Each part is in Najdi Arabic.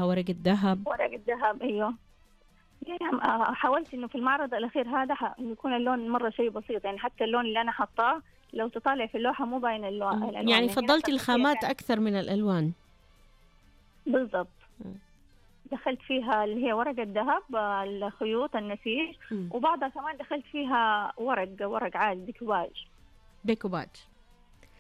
فيها ورق الذهب. ورق الذهب أيوه. يعني حاولت إنه في المعرض الأخير هذا يكون اللون مرة شيء بسيط، يعني حتى اللون اللي أنا حطاه لو تطالع في اللوحة مو باين الألوان. يعني فضلت الخامات أكثر من الألوان. بالضبط. دخلت فيها اللي هي ورق الذهب، الخيوط، النسيج، وبعضها كمان دخلت فيها ورق عادي، ديكوباج.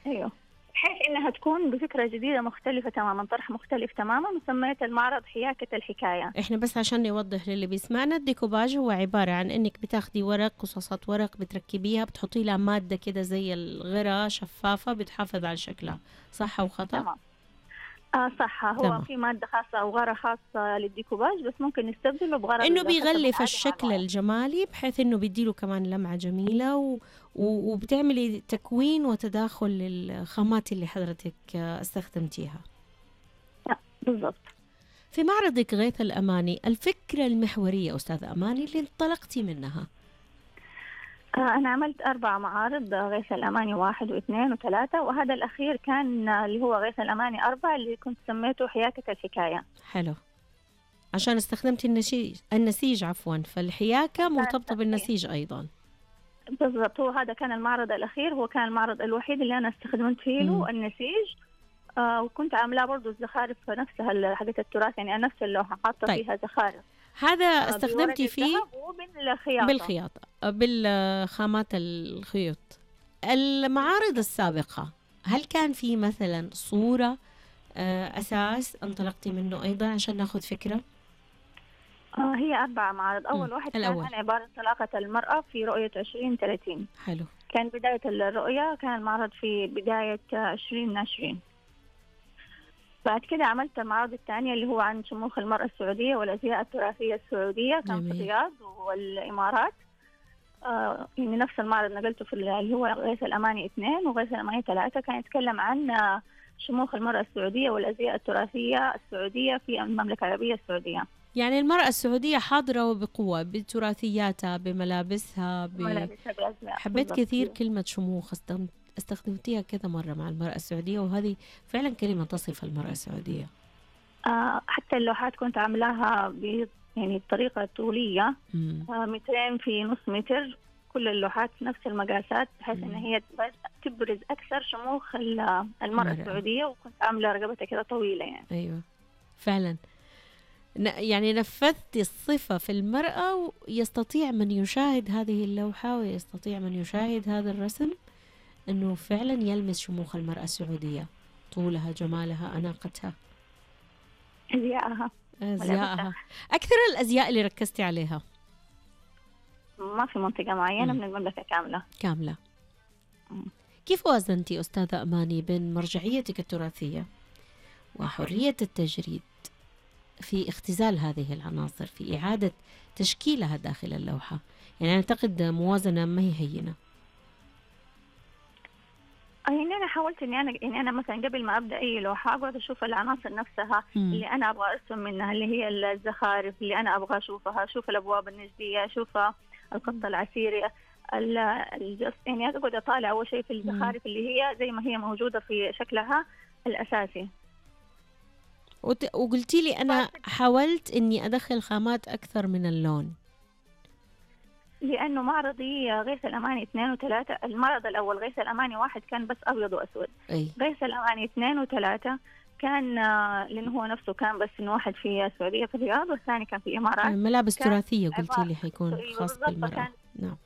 أيوه، بحيث إنها تكون بفكرة جديدة مختلفة تماما، طرح مختلف تماما، وسميت المعرض حياكة الحكاية. إحنا بس عشان نوضح للي بيسمعنا، الديكوباج هو عبارة عن إنك بتاخدي ورق، قصاصات ورق، بتركبيها، بتحطي لها مادة كده زي الغرة شفافة بتحافظ على شكلها. صح أو خطأ؟ تمام. صح. هو تمام. في مادة خاصة أو غرة خاصة للديكوباج، بس ممكن نستبدله بغرة إنه بيغلف الشكل الجمالي، بحيث إنه بيديله كمان لمعة جميلة، وبتعملي تكوين وتداخل للخامات اللي حضرتك استخدمتيها. بالضبط. في معرضك غيث الأماني، الفكرة المحورية أستاذ أماني اللي انطلقتي منها؟ أنا عملت 4 معارض، غيث الأماني 1 و2 و3، وهذا الأخير كان اللي هو غيث الأماني 4 اللي كنت سميته حياكة الحكاية. حلو، عشان استخدمت النسيج عفوا، فالحياكة مرتبطة بالنسيج أيضا. بالضبط. هو هذا كان المعرض الأخير، هو كان المعرض الوحيد اللي أنا استخدمت فيه له النسيج. وكنت عاملاه برضو الزخارف نفسها حقت التراث، يعني نفس اللوحة حاطة فيها زخارف. هذا استخدمتي فيه بالخياطة بالخامات الخيوط. المعارض السابقة هل كان في مثلا صورة أساس انطلقتي منه أيضا عشان ناخذ فكرة؟ هي 4 معارض. أول واحد كان عن عبارة طلاقة المرأة في رؤية 2030. حلو. كان بداية الرؤية، كان المعرض في بداية 2020. بعد كده عملت المعرض الثانية اللي هو عن شموخ المرأة السعودية والأزياء التراثية السعودية، كان في الرياض والإمارات. يعني نفس المعرض نقلته في اللي هو غيث الأماني 2 وغيث الأماني 3، كان يتكلم عن شموخ المرأة السعودية والأزياء التراثية السعودية في المملكة العربية السعودية. يعني المرأة السعودية حاضرة وبقوة بتراثياتها، بملابسها، حبيت كثير كلمة شموخ، استخدمتيها كذا مرة مع المرأة السعودية، وهذه فعلا كلمة تصف المرأة السعودية. حتى اللوحات كنت عاملاها يعني بطريقة طولية، 2 في نص متر، كل اللوحات نفس المقاسات، بحيث ان هي تبرز اكثر شموخ المرأة السعودية، وكنت عاملة رقبتها كده طويلة يعني. ايوه فعلا، يعني نفذت الصفة في المرأة، ويستطيع من يشاهد هذه اللوحة ويستطيع من يشاهد هذا الرسم أنه فعلا يلمس شموخ المرأة السعودية، طولها، جمالها، أناقتها، أزياءها. أكثر الأزياء اللي ركزتي عليها؟ ما في منطقة معينة، من المملكة كاملة. كيف وازنتي أستاذة أماني بين مرجعيتك التراثية وحرية التجريد في اختزال هذه العناصر، في إعادة تشكيلها داخل اللوحة؟ يعني أعتقد موازنة ما هي هينة. يعني أنا حاولت إني أنا مثلا قبل ما أبدأ أي لوحة أقعد أشوف العناصر نفسها اللي أنا أبغى أرسم منها، اللي هي الزخارف اللي أنا أبغى أشوفها، أشوف الأبواب النجدية، أشوف الخط العسيري، يعني أقعد أطالع أول شيء في الزخارف اللي هي زي ما هي موجودة في شكلها الأساسي. وقلتي لي أنا حاولت إني أدخل خامات أكثر من اللون، لأنه معرضي غيث الأماني 2 و3، المعرض الأول غيث الأماني 1 كان بس أبيض وأسود. غيث الأماني 2 و3 كان لأنه هو نفسه كان بس إنه واحد في السعودية في الرياض، والثاني كان في الإمارات. ملابس تراثية قلتي لي حيكون خاص بالمرأة. نعم.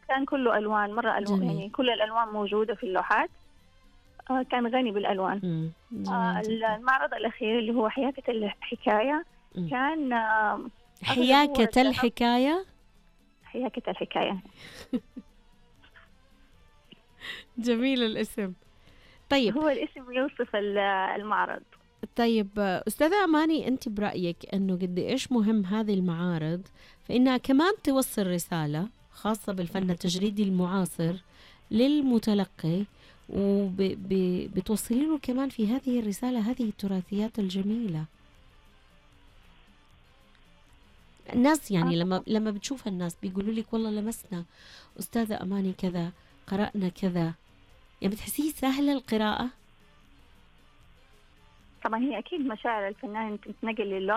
كان كله ألوان، مرة ألوان، يعني كل الألوان موجودة في اللوحات. كان غني بالألوان. المعرض الأخير اللي هو حياكة الحكاية كان حياكة الحكاية. حياكة الحكاية. جميل الاسم. طيب هو الاسم يوصف المعرض. طيب أستاذة أماني، أنت برأيك أنه قد إيش مهم هذه المعارض فإنها كمان توصل رسالة خاصة بالفن التجريدي المعاصر للمتلقي، وبتوصلي له كمان في هذه الرسالة هذه التراثيات الجميلة؟ الناس يعني لما بتشوف الناس بيقولوا لك والله لمسنا أستاذة أماني كذا، قرأنا كذا، يعني بتحسيه سهلة القراءة؟ طبعا هي أكيد مشاعر الفنان تنتقل للوحة